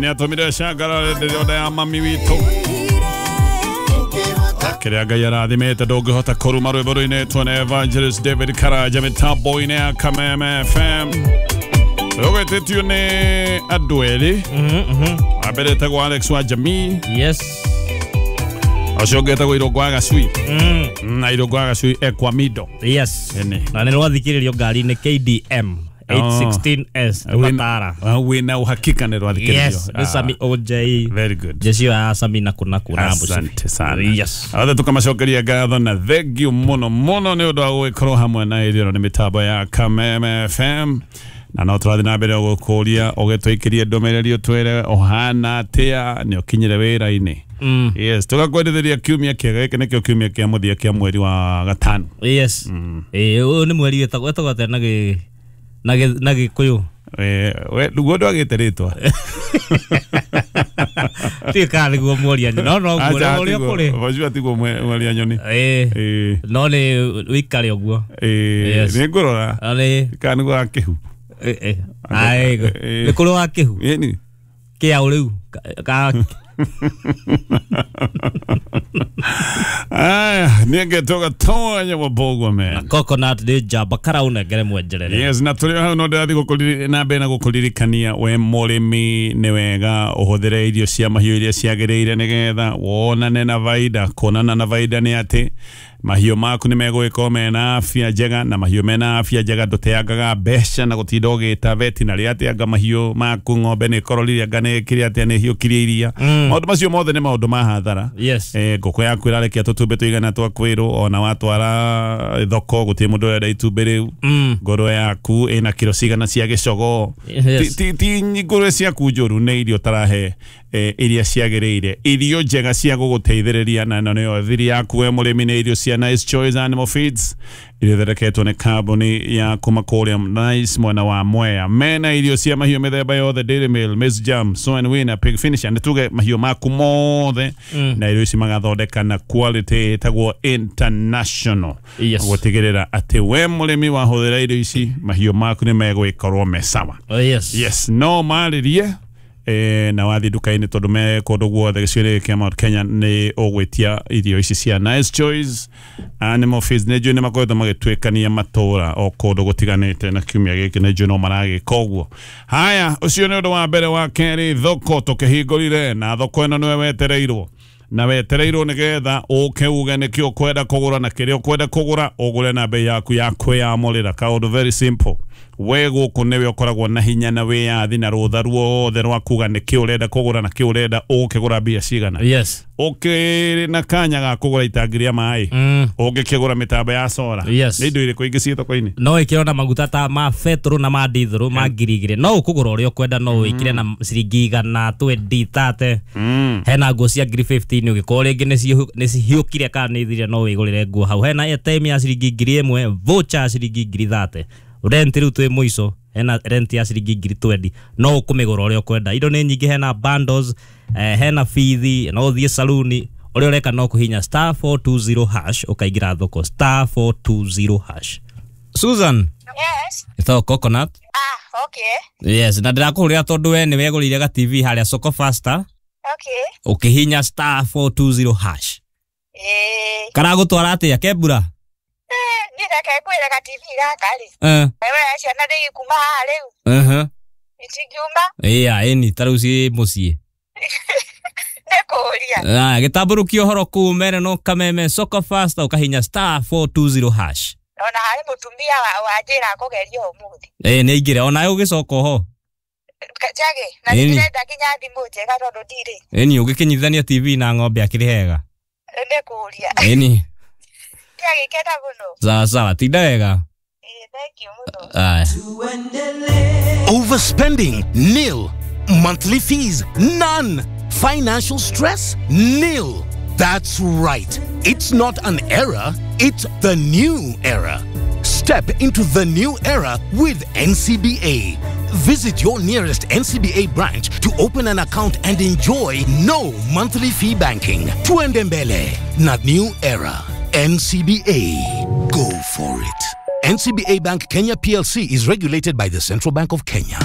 Ngai nĩ atũmire cangara ndĩrona ya mami witũ. Kĩrĩa Ngai arathimĩte ndũngĩhota kũruma. Rwĩmbo rũinĩtwo nĩ Evangelist David Karanja mĩtambo-inĩ ya Kameme FM. Rũgwĩtĩtio nĩ andũ erĩ. Wa mbere etagwo Alex wa Jamii. Yes. Ũcio ũngĩ etagwo Irũngũ wa Gacui. Na Irũngũ wa Gacui ekwa Mido. Yes. Ĩni. Na nĩ rwathikĩrĩrio ngari-inĩ KDM 816S Matara. Wĩna uhakika nĩ rwathikĩrĩrio? Yes, nĩ Sami OJ. Very good. Jeshi ya Sami na kuna kuna. Asante sana. Yes. Othe tukamacokeria ngatho na thengiũ mũno mũno nĩ ũndũ wa gũgĩkorwo hamwe na ithuĩ. Nĩ mĩtambo ya Kameme FM na no tũrathiĩ na mbere gũkũria ũgĩtũikĩrie ndũmĩrĩri ũtwĩre ũhana atĩa, nĩ ũkinyire wĩra-inĩ. Yes, tũgakwendithĩria kiumia kĩega. Gĩkĩ nĩkĩo kiumia kĩa mũthia kĩa mweri wa gatano. Yes. Eh, ũyũ nĩ mweri wĩtagwo atĩa na gĩ na gĩ na Gĩkũyũ? We nĩguo ndwagĩte rĩtwa. Tiĩ kana nĩguo mworia nyoni. No no guo ũrĩa kũrĩ. Wajua tiguo mwaria nyoni. Eh. No nĩ wĩikare ũguo. Yes. Nĩ ngũrora No nĩ kana nĩguo wa kĩhu. Eh. Ai, nĩ kũrĩ wa kĩhu. Ĩni. Kĩa rĩu ka Aya, nĩngetwo Gatonya wa Mbogwa man. Coconut nĩ njamba karaunengere mwenjerere. Yes, na tũrĩ o hau no ndĩrathiĩ na mbere na gũkũririkania we mũrĩmi nĩ wega ũhũthĩre irio cia mahiũ iria ciagĩrĩire nĩgetha wonane na baida. Kuonana na baida nĩ atĩ mahiũ maku nĩ megũgĩkorwo mena afya njega, na mahiũ mena afya njega ndũteangaga mbeca na gũtinda ũgĩta vetinary atĩ anga mahiũ maku ng'ombe nĩ ĩkororire, anga nĩ ĩkire atĩa, nĩ ĩhiũkirie iria. Maũndũ macio mothe nĩ maũndũ ma hathara. Ngũkũ yaku ĩrarekia tũtumbĩ tũigana twa kwĩrwo, ona watwara thoko gũtirĩ mũndũ ũrenda itumbĩ rĩu. Ngũrwe yaku ĩna kiro cigana cia gĩcogoo. Ti ngũrwe ciaku njũru, nĩ irio ũtarahe iria ciagĩrĩire, irio njega cia gũgũteithĩrĩria, na ĩno nĩyo thiri yaku we mũrĩmi, nĩ irio cia Nice Choice Animal Feeds iria ithondeketwo nĩ kambuni ya kuma kũrĩa Nice mwena wa Mwea. Mena irio cia mahiũ mĩthemba yothe, Dairy Meal, Maize Jam, Soy and Winner, Pig Finisher, nĩ tuge mahiũ maku mothe na irio ici magathondeka na quality ĩtagwo international. Gũtigĩrĩra atĩ we mũrĩmi wahũthĩra irio ici mahiũ maku nĩ megũgĩkorwo me sawa. Oh, yes. Yes, no marĩrie na wathiĩ nduka-inĩ tondũ me kũndũ guothe gĩcigo-inĩ gĩkĩ kĩa Mount Kenya nĩ ũgwĩtia irio ici cia Nice Choice Animal Feeds. Nĩ njũĩ nĩ makoretwo magĩtuĩkania matũra o kũndũ gũtiganĩte na kiumia gĩkĩ nĩ njũĩ no maragĩka ũguo. Haya, ũcio nĩ ũndũ wa mbere. Wa kerĩ, thoko tũkĩhingũrire, na thoko ĩno nĩwe wetereirwo na wetereirwo nĩgetha ũke uge nĩkĩ ũkwenda kũgũra na kĩrĩa ũkwenda kũgũra ũgũre na bei yaku ya kwĩyamũrĩra. Kaũndũ very simple, we gũkũ nĩwe ũkoragwo na hinya na wĩyathi na rũtha ruothe rwa kuga nĩkĩ ũrenda kũgũra na kĩ ũrenda ũgũkĩgũra mbia cigana. Ũkĩrĩ na kanya ga kũgũra itangi rĩa maĩ, ũngĩkĩgũra mĩtambo ya solar. Nĩ indo irĩkũ ingĩ ciĩ thoko-inĩ? No ĩkĩrwo na maguta ta ma betũrũ na ma ndithũrũ ma 2000. No ũkũgũra ũrĩa ũkwenda, no wĩkĩre na ciringi igana twendi tate. Hena nguo cia 10,015, ũgĩkorwo rĩngĩ nĩ cihiũkire kana nĩ ithirire, no wĩgũrĩre nguo hau. Hena airtime ya ciringi 1000, voucher ya ciringi 30,000. Rent rĩu twĩ mũico, hena rent ya ciringi 20,000, no ũkũmĩgũra ũrĩa ũkwenda. Indo nĩ nyingĩ, hena bundles, hena bithi, no ũthiĩ saluni. Ũrĩa ũreka no kũhinya *420# ũkaingĩra thoko, *420#. Susan. Yes. Ĩtagwo Coconut. Ah, okay. Yes, na ndĩrakũhũrĩra tondũ we nĩ wegũrĩire ga TV harĩa Soko Faster. Okay. Ũkĩhinya *420#. Karagũtwara atĩa kembura? Niĩ reke ngwĩre ga TV gaka rĩ. Wewe ciana nĩ ikuma haha rĩu. Itingiuma. Ĩya, ĩni ta rĩu ciĩ mũciĩ. Nĩ kũũria. Ah, gĩtambũrũkia ũhoro kũu mere no Kameme Soko Faster ũkahinya *420#. Ona harĩ mũtumia wanjĩra kũgeria ũmũthĩ. Ĩ nĩ aingĩre onawe ũgĩcoka oho. Njage na Ĩni. ndĩrenda nginya thimũ njega tondũ ndirĩ. Ĩni ũgĩkĩnyitithania TV na ng'ombe akĩrĩ hega. Nĩ kũũria. Ĩni. Ndiagĩkena mũno. Sawa sawa, tinda wega. Ĩ, thank you mũno. Aya. Overspending? Nil. Monthly fees? None. Financial stress? Nil. That's right. It's not an era, it's the new era. Step into the new era with NCBA. Visit your nearest NCBA branch to open an account and enjoy no monthly fee banking. Tuende mbele, not new era. NCBA. Go for it. NCBA Bank Kenya PLC is regulated by the Central Bank of Kenya.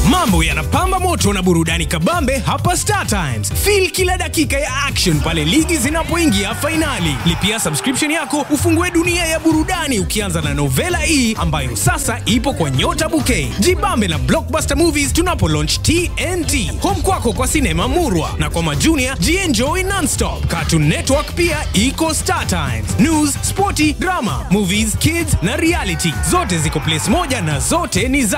Mambo yanapamba moto na burudani kabambe hapa Star Times. Feel kila dakika ya action pale ligi zinapoingia fainali. Lipia subscription yako ufungue dunia ya burudani ukianza na Novela E ambayo sasa ipo kwa Nyota Bouquet. Jibambe na Blockbuster Movies tunapo launch TNT. Home kwako kwa sinema Murwa na kwa majunia jienjoy nonstop. Cartoon Network pia iko Star Times. News, sporti, drama, movies, kids na reality. Zote ziko place moja na zote ni za